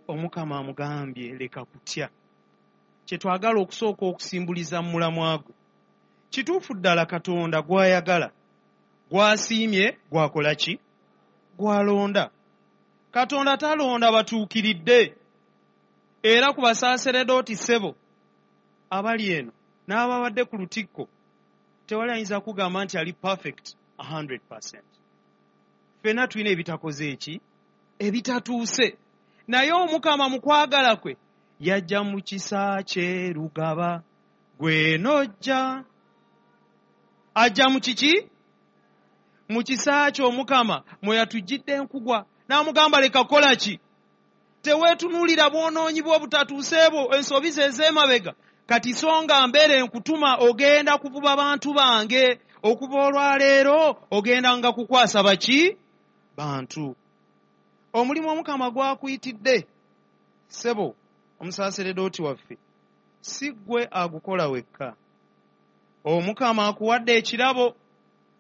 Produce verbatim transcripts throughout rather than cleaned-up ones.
Omukama amugambye leka kutya. Kye twagala okusooka okusimbuliza mu mulamwa gwe. Kituufu ddala Katonda gw'ayagala, gw'asiimye, gw'akola ki? Gw'alonda. Katonda talonda batuukiridde. Era ku basaaseredooti ssebo abali eno n'ababadde ku lutikko, tewali ayinza kugamba nti ali perfect one hundred percent. Ffenna tulina ebitakoze eki? Ebitatuuse. Naye Omukama mu kwagala kwe yajja mu kisa kye Lugaba, gwe n'ojja. Ajja mu kiki? Mu kisa kye Omukama mwe yatujjidde enkugwa. N'amugamba leka kukola ki? Teweetunuulira bwonoonyi bwo obutatuuse bwo, ensobi ze ez'emabega. Kati so nga mbeere nkutuma ogenda kuvuba bantu bange. Okuva olwaleero ogenda nga kukwasa baki? Bantu. Omulimu Omukama gw'akuyitidde, ssebo omusaaseredooti waffe, si ggwe agukola wekka. Omukama akuwadde ekirabo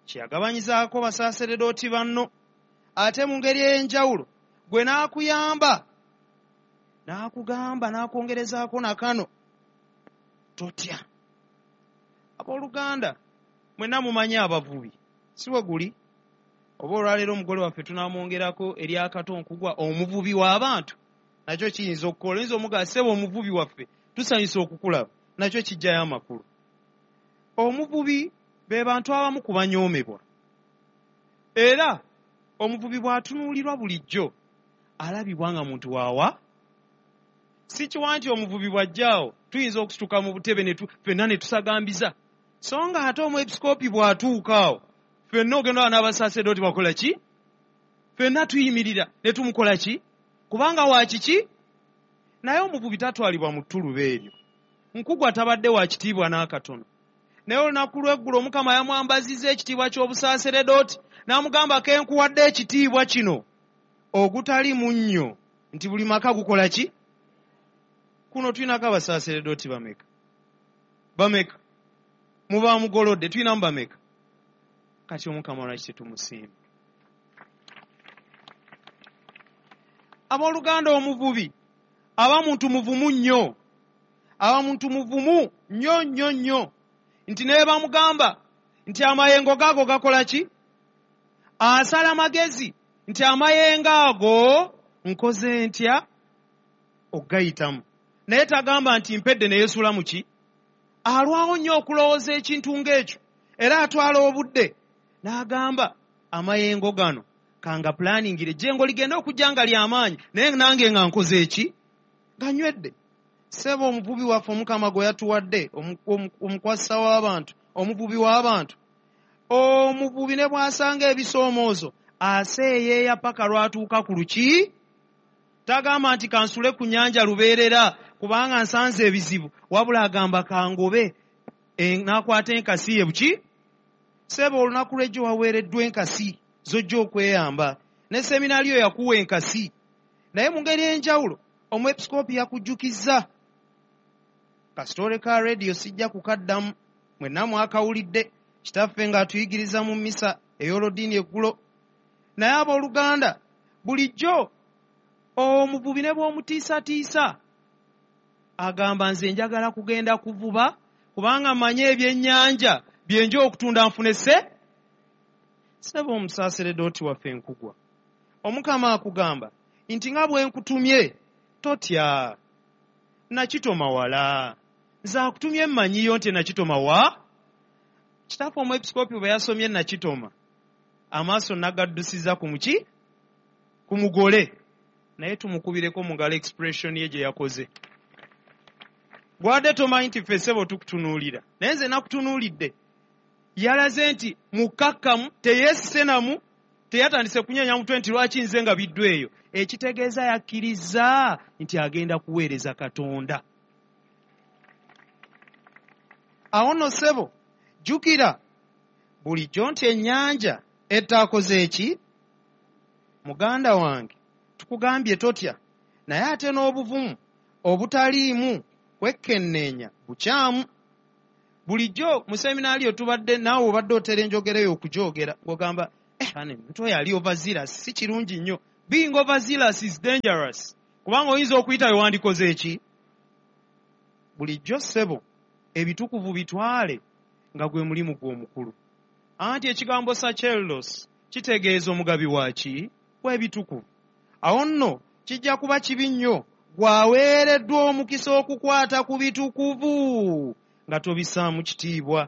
kye yagabanyizaako basaaseredooti banno, ate mu ngeri ey'enjawulo gwe n'akuyamba, n'akugamba, n'akwongerezaako na kano, totya. Abooluganda, mwenna mumanyi abavubi, si bwe guli? Oba olwaleero omugole waffe tunaamwongerako eryakato nkugwa omuvubi w'abantu, nakyo kiyinza okukola. Oyinza omugamba ssebo omuvubi waffe tusanyusa okukulaba, nakyo kijjayo amakulu. Omuvubi be bantu abamu ku banyoomebwa. Era omuvubi bw'atunuulirwa bulijjo alabibwa nga muntu waawa. Si kiwa nti omuvubi bw'ajjaawo tuyinza okusituka mu butebe ne ffenna ne tusagambiza. So nga ate omwepisikoopi bw'atuuka awo ffenna ogenda n'abasaaseredooti bakola ki? Ffenna tuyimirira ne tumukola ki? Kubanga wa kiki? Naye omuvubi tatwalibwa mu ttuluba eryo. Nkugwa tabadde wa kitiibwa n'akatono. Naye olunaku lw'eggulo Omukama yamwambazizza ekitiibwa ky'obusaaseredooti n'amugamba ke nkuwadde ekitiibwa kino ogutali munnyo nti buli maka gukola ki? Kuno tulinako abasaaseredooti bameka? Bameka? Muba mugolodde tulinamu bameka? Kati Omukama lwaki tetumusiima? Abooluganda, omuvubi aba muntu muvumu nnyo, aba muntu muvumu nnyo nnyo nnyo, nti naye bamugamba nti amayengo gaago gakola ki? Asala magezi nti amayengo ago nkoze ntya okugayitamu. Naye tagamba nti mpedde ne yeesuula mu ki? Alwawo nnyo okulowooza ekintu ng'ekyo, era atwala obudde n'agamba amayengo gano kanga planingire jengo ligenda okujja nga ly'amaanyi, naye nange nga nkoze eki? Nga nywedde. Ssebo omuvubi waffe Omukama gwe yatuwadde, omukwasa w'abantu, omuvubi w'abantu, omuvubi ne bw'asanga ebisoomoozo aseeyeeya paka lw'atuuka ku luki. Tagamba nti kansule ku nnyanja lubeerera kubanga nsanze ebizibu, wabula agamba kangobe, n'akwata enkasi ye buki. Ssebo olunaku lw'ejjo waweereddwa enkasi z'ojja okweyamba, ne seminaaliyo yakuwa enkasi. Naye mu ngeri ey'enjawulo omwepisikoopi yakujjukizza. Kasitole ka rediyo sijja kukaddamu, mwenna mwakawulidde kitaffe ng'atuyigiriza mu mmisa ey'olodiini eggulo. Naye abooluganda, bulijjo omuvubi ne bw'omutiisatiisa agamba nze njagala kugenda kuvuba kubanga mmanyi ebyennyanja bye nja okutunda nfune sse. Ssebo omusaaseredooti waffe Nkugwa, Omukama akugamba nti nga bwe nkutumye totya, nakitoma wala. Nze akutumye mmanyiyo nti nakitoma wa? Kitaffe omwepisikoopi bwe yasomye nakitoma, amaaso nagaddusiza ku muki? Ku mugole. Naye tumukubireko mu ngalo expression ye gye yakoze. Gwadde tomanyi nti ffe ssebo tukutunuulira, naye nze nakutunuulidde. Yalaze nti mukkakkamu, teyeesise namu, teyatandise kunyeenya mutwe nti lwaki nze nga biddwa eyo. Ekitegeeza yakkiriza nti agenda kuweereza Katonda. Awo nno ssebo, jjukira bulijjo nti ennyanja etaakoze eki? Muganda wange, tukugambye totya, naye ate n'obuvumu obutaliimu kwekenneenya bukyamu. Bulijjo mu seminaaliyo tubadde naawe obadde otera enjogera eyo okugyogera, ng'ogamba eh, ane, omuntu oyo ali overzealous, si kirungi nnyo. Being overzealous is dangerous. Kubanga oyinza okuyita we wandikoze eki? Bulijjo ssebo ebitukuvu bitwale nga gwe mulimu gw'omukulu. Anti ekigambo sacerdos kitegeeza omugabi wa ki? W'ebitukuvu. Awo nno kijja kuba kibi nnyo gwaweereddwa omukisa okukwata ku bitukuvu nga tobissaamu kitiibwa.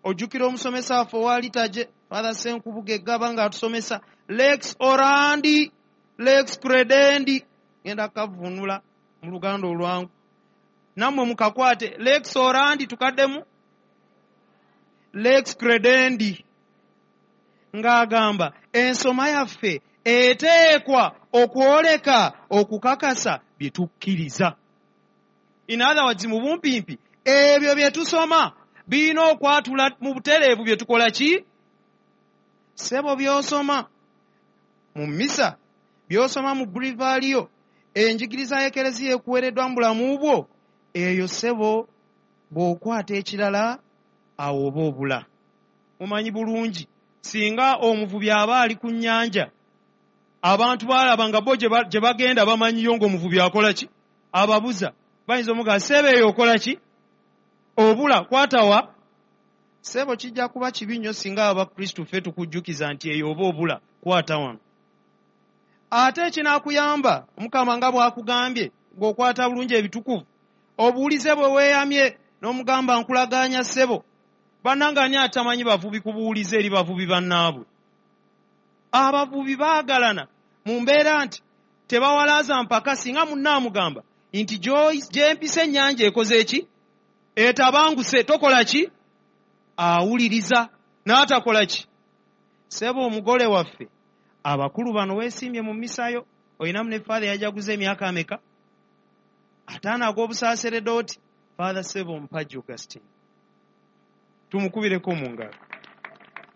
Ojjukira omusomesa waffe owa liturgy, Father Senkubuge Eggaba, ng'atusomesa lex orandi lex credendi. Ngenda kavvuunula mu Luganda olwangu, nammwe mukakwate. Lex orandi, tukaddemu, lex credendi, ng'agamba ensoma yaffe eteekwa okwoleka okukakasa bye tukkiriza. In other words, mu bumpimpi, ebyo bye tusoma birina okwatula mu butereevu bye tukola ki? Ssebo, by'osoma mu misa, by'osoma mu breviary, enjigiriza y'Ekereziya ekuweereddwa mu bulamu bwo, eyo ssebo bw'okwata ekirala awo oba obula. Mumanyi bulungi, singa omuvubi aba ali ku nnyanja, abantu baalaba nga bo gye bagenda bamanyiyo ng'omuvubi akola ki? Ababuza. Bayinza omugamba, "Ssebo, eyo okola ki? Obula, kwatawa." Ssebo, kijja kuba kibi nnyo singa Abakristu ffe tukujjukiza nti eyo oba obula, kwata wano. Ate ekinaakuyamba, Omukama nga bw'akugambye ng'okwata bulungi ebitukuvu, obuwulize bwe weeyamye n'omugamba, "Nkulagaanya ssebo." Bannange, ani atamanyi bavubi ku buwulize eri bavubi bannaabwe? Abavubi baagalana mu mbeera nti tebawalaaza mpaka. Singa munnaamugamba nti gyempisa ennyanja ekoze eki? Etabanguse, tokola ki? Awuliriza n'atakola ki? Ssebo, omugole waffe, abakulu bano weesiimye mu misayo, olinamu ne Father yajaguza emyaka ameka? Ataano ag'obusaaseredooti. Father Ssebo Mpagi Augustine, tumukubireko mu ngalo.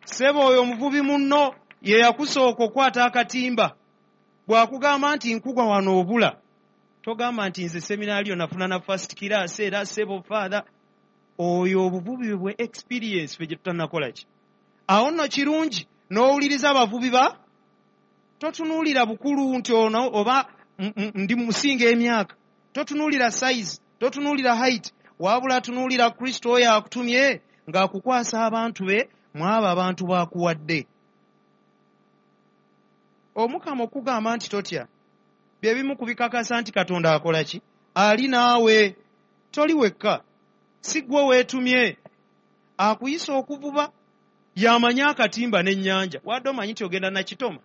Ssebo, oyo omuvubi munno ye yakusooka okwata akatimba. Bw'akugamba nti nkugwa wano obula, togamba nti nze seminario nafuna na first class. Era ssebo Father, oyo obuvubi bwe experience ffe gye tutanakola ki? Awo nno kirungi n'owuliriza abavubi ba totunuulira bukulu nti ono oba ndi musinga emyaka, totunuulira size, totunuulira height, wabula tunuulira Kristo oyo akutumye ng'akukwasa abantu be. Mwabo abantu b'akuwadde, Omukama okugamba nti totya, bye bimu ku bikakasa nti Katonda akola ki? Ali naawe, toli wekka, si ggwe weetumye. Akuyisa okuvuba y'amanyi akatimba n'ennyanja. Wadde omanyi nti ogenda nakitoma,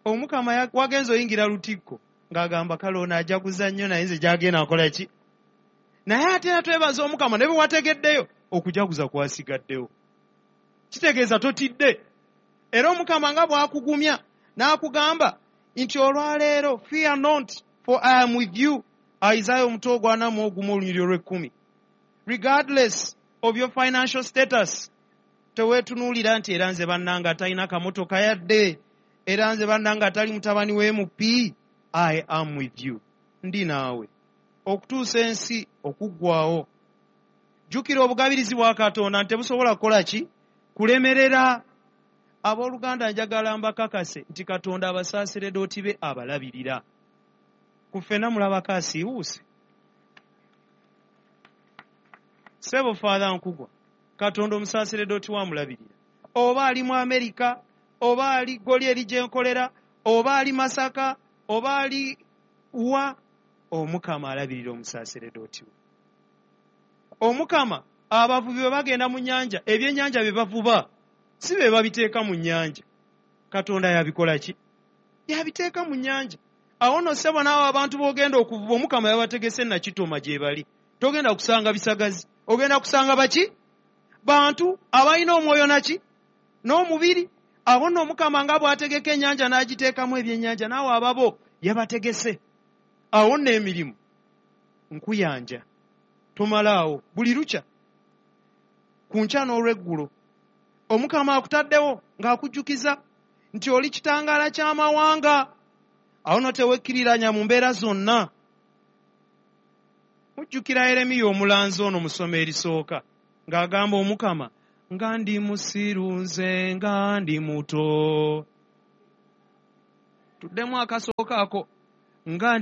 Omukama wagenza oyingira lutikko ng'agamba, "Kale ono ajaguza nnyo, naye nze gyagenda nkola ki?" Naye ate era twebaza Omukama, ne bwe wategeddeyo okujaguza kwasigaddewo, kitegeeza totidde. Era Omukama nga bw'akugumya n'akugamba nti olwaleero, "Fear not, for I am with you," Isaya omutwe ogwana mu ogumu olunyiriri olw'ekkumi. Regardless of your financial status, teweetunuulira nti era nze bannanga atalina kamotoka yadde, era nze bannanga atali mutabani w'M P. I am with you, ndi naawe okutuusa ensi okuggwawo. Jjukira obugabirizi bwa Katonda nti tebusobola kukola ki? Kulemerera. Abooluganda, njagala mbakakase nti Katonda abasaaseredooti be abalabirira. Ku ffenna mulabako asiiwuuse? Ssebo Father Nkugwa, Katonda omusaaseredooti wamulabirira, oba ali mu Amerika, oba ali Goli eri gyenkolera, oba ali Masaka, oba ali wa, Omukama alabirira omusaaseredooti we. Omukama, abavubi bwe bagenda mu nnyanja, ebyennyanja bye bavuba si be babiteeka mu nnyanja, Katonda yabikola ki? Yabiteeka mu nnyanja. Awo nno ssebo, naawe abantu b'ogenda okuvuba, Omukama yabategese nakitoma gye bali. Togenda kusanga bisagazi, ogenda kusanga baki? Bantu abalina omwoyo naki? N'omubiri. Abo nno Omukama nga bw'ategeka ennyanja n'agiteekamu ebyennyanja, naawe ababo yabategese. Awo nno emirimu nkuyanja tomalaawo buli lukya ku nkya n'olweggulo. Omukama akutaddewo ng'akujjukiza nti oli kitangaala ky'amawanga. Awo nno tewekkiriranya mu mbeera zonna. Mujjukira Yeremiya omulanzi ono mu ssomo erisooka ng'agamba Omukama, "Nga ndi musiru nze, nga ndi muto." Tuddemu akasooka ako. Nga